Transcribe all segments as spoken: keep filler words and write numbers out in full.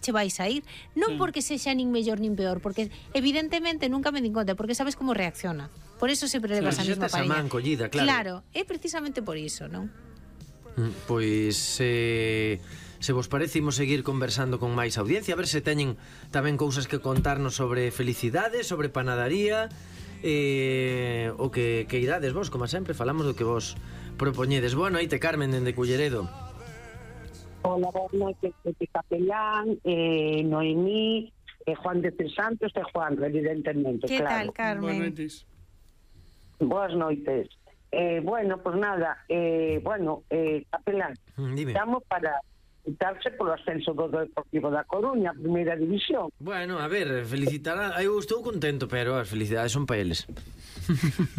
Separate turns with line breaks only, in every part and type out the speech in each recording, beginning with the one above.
che vai sair, non
Sí.
porque sexa nin mellor nin peor, porque evidentemente nunca me din conta, porque sabes como reacciona. Por eso sempre levas a
Xa
mesma
tes a
parella.
man collida, claro.
Claro, é precisamente por iso, non?
Mm, Pois eh, se vos parece imos seguir conversando con máis audiencia, a ver se teñen tamén cousas que contarnos sobre felicidade, sobre panadería, eh, o que, que irades vos, como sempre, falamos do que vos propoñedes. Boa noite, Carmen, dende Culleredo.
Hola, boas noites, Pepe Capellán, eh, Noemí, eh, Juan de Tres Santos e Juan, evidentemente,
Que
claro.
tal,
Boas
Carmen?
noites.
Boas noites. Eh, bueno, pues nada, eh, bueno, eh, Capellán,
Mm, Dime.
estamos para quitarse polo ascenso do Deportivo da Coruña, primeira división.
Bueno, a ver, felicitará. Eu estou contento, pero as felicidades son para eles.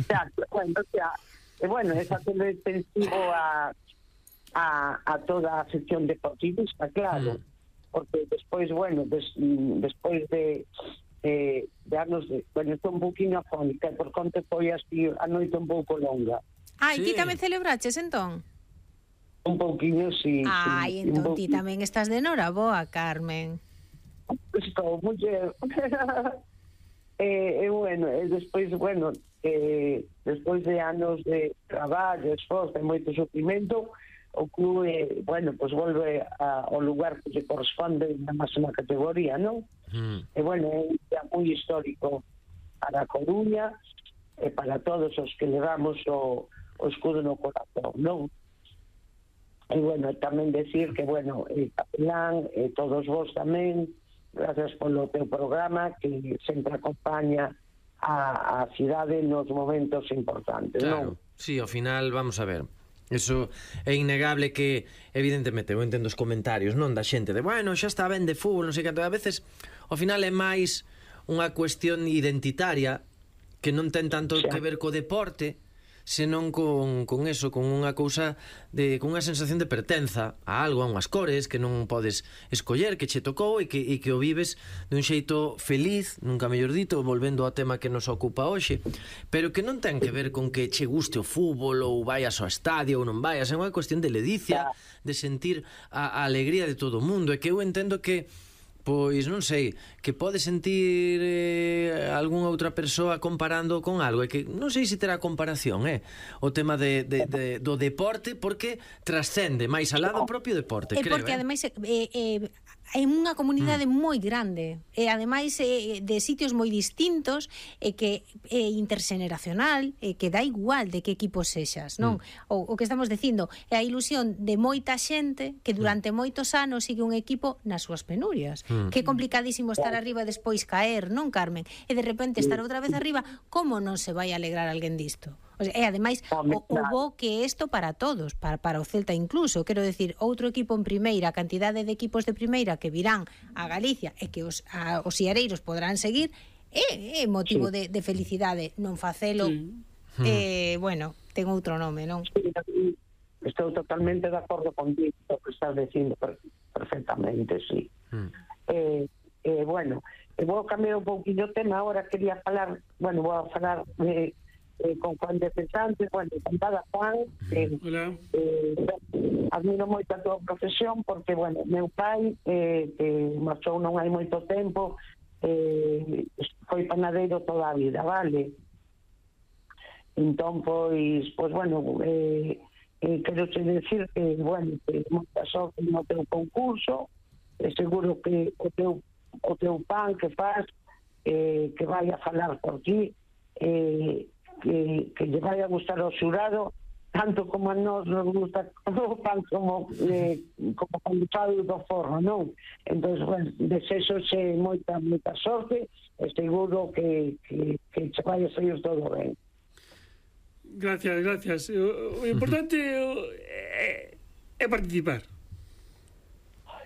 Xa, bueno, xa, eh, bueno, esa todo extensivo a, a, a toda a sección deportivista, claro,
Mm.
porque despois, bueno, des, mm, despois de eh, de anos de, bueno, estou un pouquinho afónica, por conta foi así a noite un pouco longa,
Ai,
Sí.
ti tamén celebraches, entón?
un pouquinho, si,
Ai,
si,
entón ti tamén estás de noraboa, Carmen.
estou muller. E, e bueno, e despois, bueno, eh, despois de anos de traballo, esforzo e moito sufrimento, o clube, bueno, pues volve a, ao lugar que lle corresponde na máxima categoría, non?
Mm.
E bueno, é un día moi histórico para a Coruña e para todos os que levamos o, o escudo no corazón, non? E bueno, tamén decir que, bueno, el Capelán e todos vos tamén, gracias polo teu programa que sempre acompaña a, a cidade nos momentos importantes,
Claro,
non?
sí, ao final, vamos a ver. Eso é innegable que, evidentemente, eu entendo os comentarios, non, da xente de, bueno, xa está ben de fútbol, non sei canto, a veces, ao final é máis unha cuestión identitaria que non ten tanto
Xa.
que ver co deporte, senón con, con eso, con unha cousa de, con unha sensación de pertenza a algo, a unhas cores que non podes escoller, que che tocou e que, e que o vives dun xeito feliz, nunca mellor dito, volvendo ao tema que nos ocupa hoxe, pero que non ten que ver con que che guste o fútbol ou vayas ao estadio ou non vayas, é unha cuestión de ledicia, de sentir a, a alegría de todo o mundo, e que eu entendo que pois non sei, que pode sentir eh, algunha outra persoa comparando con algo, e que non sei se terá comparación, eh, o tema de, de, de, do deporte, porque trascende máis alá do propio deporte,
E
creo,
porque
eh.
ademais é, é, é unha comunidade mm. moi grande e ademais é de sitios moi distintos e que é interxeneracional e que dá igual de que equipo sexas, non? Mm. O, o que estamos dicindo é a ilusión de moita xente que durante mm. moitos anos sigue un equipo nas súas penurias. Mm. Que é complicadísimo estar arriba e despois caer, non, Carmen? E de repente estar outra vez arriba, como non se vai alegrar alguén disto? O sea, e ademais o, o bo que é isto para todos, para, para o Celta incluso, quero decir, outro equipo en primeira, a cantidade de equipos de primeira que virán a Galicia e que os, a, os iareiros podrán seguir, é, é motivo
Sí.
de, de felicidade, non facelo,
Sí.
eh, bueno, ten outro nome, non?
Sí, estou totalmente de acordo contigo, o que estás dicindo per, perfectamente, sí.
Mm.
Eh, eh, bueno, eh, vou cambiar un pouquinho o tema, ahora quería falar, bueno, vou falar de, eh, con Juan de Cesantes, bueno, encantada Juan, eh,
Hola.
eh, admiro moito a tua profesión porque, bueno, meu pai eh, que marchou non hai moito tempo, eh, foi panadeiro toda a vida, vale? Entón, pois, pois bueno, eh, eh, quero che decir que, bueno, que moita sorte no teu concurso, e seguro que o teu, o teu pan que faz, eh, que vai a falar por ti, eh, que, que lle vai a gustar ao xurado, tanto como a nós nos gusta o pan como, eh, como cando falo do forno, non? Entón, bueno, desexo xe moita, moita sorte, e seguro que, que, que che vai a sair todo ben.
Gracias, gracias. O, o importante é, é participar.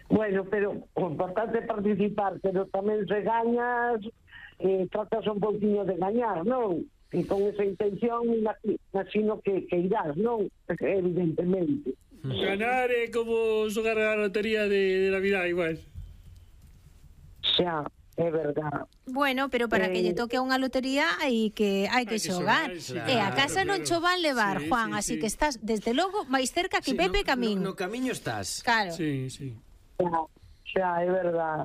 Bueno, pero o importante é participar, pero tamén se gañas, eh, tratas un pouquinho de gañar, non? E con esa intención, imagino que, que irás, non? Evidentemente.
Ganar é como xogar a lotería de, de Navidad, igual.
Xa, é verdad.
Bueno, pero para
Eh,
que lle toque a unha lotería hai que hai que
Hai que
xogar.
xogar,
E a
claro,
casa non
claro.
cho van levar,
Sí,
Juan,
sí,
así
sí.
que estás desde logo máis cerca que
Sí,
Pepe
no,
Camín.
no, no camiño estás.
Claro.
Sí, sí.
Xa, xa, é verdad.